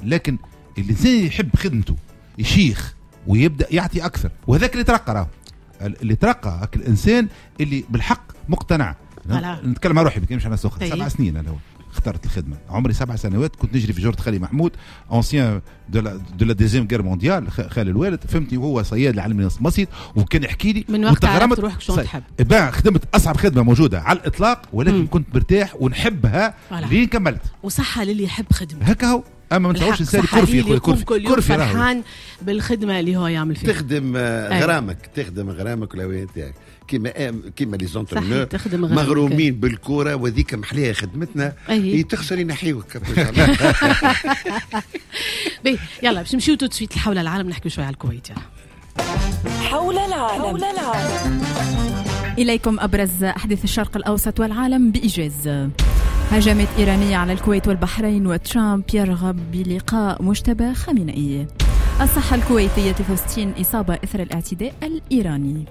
لكن الانسان يحب خدمته يشيخ ويبدا يعطي اكثر، وهذاك اللي ترقى، راهو اللي ترقى الانسان اللي بالحق مقتنع. نتكلم على روحي، ما على ناس اخرى. 7 سنين انا اخترت الخدمه، عمري 7 سنوات كنت نجري في جرة خالي محمود، ancien de la deuxième guerre mondiale، خالي الوالد، فهمتني، وهو صياد العلم المصيد وكان يحكي لي. من وقت عرفت روحك شو تحب. خدمت اصعب خدمة موجودة على الاطلاق، ولكن كنت مرتاح ونحبها لين كملت. وصحة للي يحب خدمته. هكا هو، اما ما نتصورش انسان كرفي يا خويا، كرفي. كل كرفي فرحان بالخدمة اللي هو يعمل فيها. تخدم غرامك، تخدم غرامك والهوايه نتاعك، كيما les entraîneurs مغرومين بالكوره، وذيك محليها خدمتنا. أيه. تخسر ينحيوك. باهي، يلا باش نمشيو tout de suite لحول العالم، نحكيو شوية على الكويت. يلا. حول العالم. حول العالم. إليكم أبرز أحداث الشرق الأوسط والعالم بإيجاز. هجمات إيرانية على الكويت والبحرين، وترامب يرغب بلقاء مجتبى خامنئي. الصحة الكويتية، 63 إصابة إثر الاعتداء الإيراني.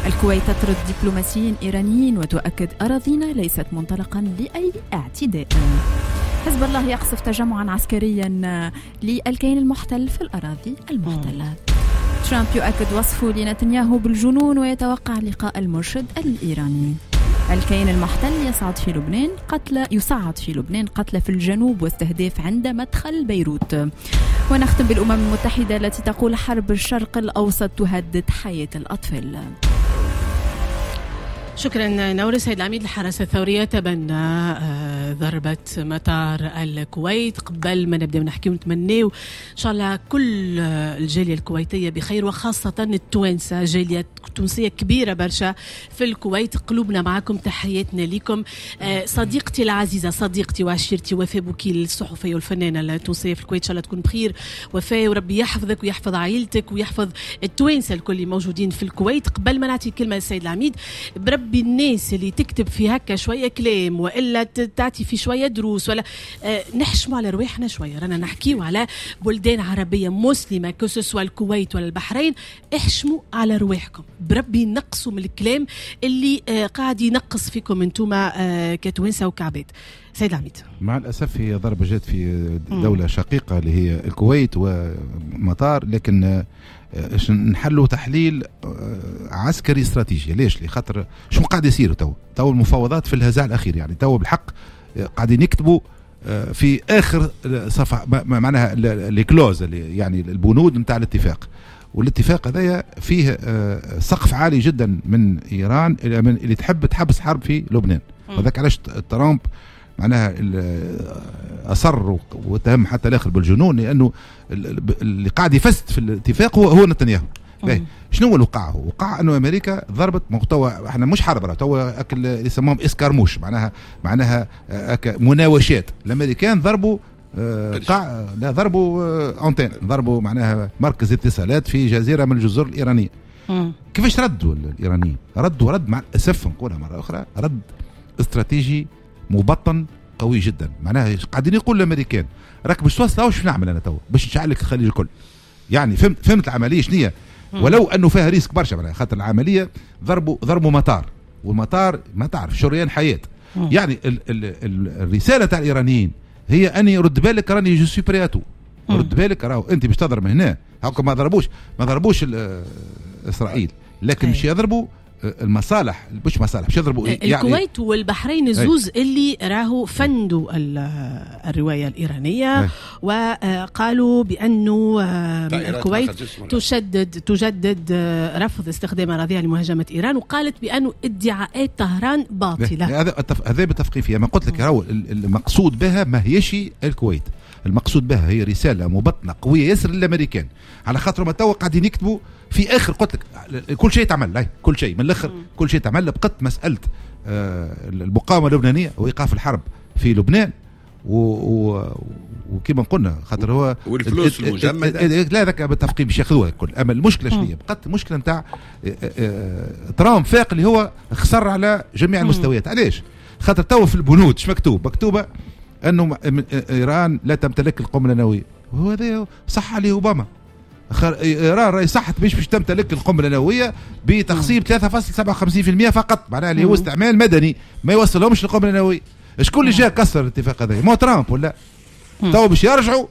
الكويت تطرد دبلوماسيين إيرانيين وتؤكد أراضينا ليست منطلقا لأي اعتداء. حزب الله يقصف تجمعا عسكريا للكيان المحتل في الأراضي المحتلة. ترامب يؤكد وصفه لنتنياهو بالجنون ويتوقع لقاء المرشد الإيراني. الكيان المحتل يصعد في لبنان قتلى في الجنوب واستهداف عند مدخل بيروت. ونختم بالأمم المتحدة التي تقول حرب الشرق الأوسط تهدد حياة الأطفال. شكرا نورس. سيد العميد، الحرس الثورية تبنى ضربة مطار الكويت. قبل ما نبدأ نحكي ونتمناو إن شاء الله كل الجالية الكويتية بخير، وخاصة التوانسة، جالية تونسية كبيرة برشا في الكويت، قلوبنا معكم، تحياتنا لكم. صديقتي العزيزة، صديقتي وعشيرتي وفاء بوكيل، الصحفية والفنانة التونسية في الكويت، إن شاء الله تكون بخير وفاء، وربي يحفظك ويحفظ عائلتك ويحفظ التوانسة الكل اللي موجودين في الكويت. قبل ما نعطي الكلمة للسيد العميد، بربي الناس اللي تكتب في هكا شوية كلام والا تعطي في شوية دروس ولا نحشموا على رواحنا شويه، رانا نحكيو على بلدان عربية مسلمه، que ce soit الكويت ولا البحرين. احشموا على رواحكم بربي، نقصوا من الكلام اللي قاعد ينقص فيكم انتم كتوانسه وكعباد. سيد العميد. مع الاسف هي ضربه جات في دولة شقيقه اللي هي الكويت ومطار، لكن نحلوا تحليل عسكري استراتيجي. ليش؟ لخاطر شو قاعد يصير تو؟ تو المفاوضات في الهزاع الاخير، يعني تو بالحق قاعدين يكتبوا في اخر صفحة معناها les clauses، يعني البنود نتاع الاتفاق. والاتفاق هذايا فيه سقف عالي جدا من ايران من اللي تحب تحبس حرب في لبنان. وذاك علاش ترامب معناها اصر واتهم حتى الاخر بالجنون، لانه اللي قاعد يفسد في الاتفاق هو نتنياهو. شنو هو اللي وقع؟ هو وقع انه امريكا ضربت، توا احنا مش حرب، توا اللي يسموهم escarmouches، معناها مناوشات. الامريكان ضربوا قاع لا ضربوا antenne، ضربوا معناها مركز اتصالات في جزيرة من الجزر الايرانيه. كيفاش ردوا الايرانيين؟ ردوا رد، مع الاسف نقولها مرة اخرى، رد استراتيجي مبطن قوي جدا. معناها قاعدين يقول الامريكان راك باش توصل واش نعمل انا تو باش نشعل لك الخليج الكل. يعني فهمت العملية شنو؟ ولو انه فيها risque برشا، معناها خاطر العملية ضربوا مطار، والمطار ما تعرف شريان حياه. يعني ال ال ال الرسالة تاع الايرانيين هي اني رد بالك، راني je suis prêt à tout، رد بالك راهو انت باش تضرب هنا. هاكا ما ضربوش اسرائيل، لكن مش يضربوا المصالح، مش مصالح، مش يضربوا. يعني الكويت والبحرين الزوز اللي راهو فندوا الرواية الإيرانية وقالوا بأنه الكويت تجدد رفض استخدام أراضيها لمهاجمة إيران، وقالت بأنه ادعاءات طهران باطلة. هذا متفقين فيها. ما قلت لك راهو المقصود بها ما هيش الكويت، المقصود بها هي رسالة مبطنه قوية ياسر للامريكان، على خاطر ما توا قاعدين يكتبوا في اخر، قلت لك كل شيء تعمل، كل شيء من الاخر كل شيء تعمل. بقت مسالة المقاومة اللبنانية وايقاف الحرب في لبنان وكما قلنا خاطر هو والفلوس المجمده. لا، ذاك متفقين باش ياخذوها الكل. اما المشكلة شنو هي؟ بقت المشكلة نتاع ترامب فاق اللي هو خسر على جميع المستويات. علاش؟ خاطر تو في البنود ايش مكتوب؟ مكتوبة انه ايران لا تمتلك القنبلة النوويه، وهذا صح عليه اوباما. ايران راهي صحت باش تمتلك القنبلة النووية بتخصيب 3.57% فقط، معناها اللي هو استعمال مدني ما يوصلهمش للقنبله النوويه. شكون اللي جاء كسر الاتفاق هذا؟ مو ترامب ولا؟ تو باش يرجعوا.